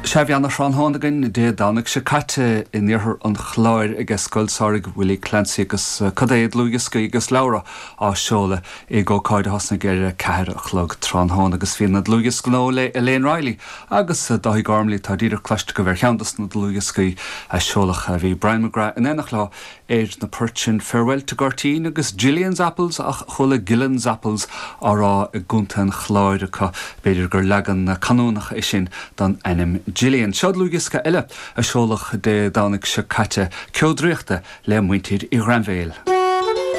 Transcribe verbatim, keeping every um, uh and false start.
Sea, bhí ana-thráthnóna againn Dé Domhnaigh seo caite in iarthar an Chláir ag Scoil Samhraidh Willie Clancy agus cad é dlúthdhioscaí agus leabhra á seoladh ag ócáid a thosnaigh ar a ceathair a chlog tráthnóna agus bhí na dlúthdhioscaí le Elaine Riley agus Dáithí Gormley tá díreach cloiste agaibh ar cheann dos na dlúthdhioscaí a seoladh a bhí Brian McGrath in éineacht leo ar na poirt sin Farewell to Gurteen agus Gillian's Apples ach chuala Gillen's Apples á rá i gContae an Chláir acu b'fhéidir gur leagan canúnach é sin don ainm Gillian. Seo dlúthdhiosca eile a seoladh Dé Domhnaigh seo caite Ceo Draíochta le muintir Uí Ghrainbhéil.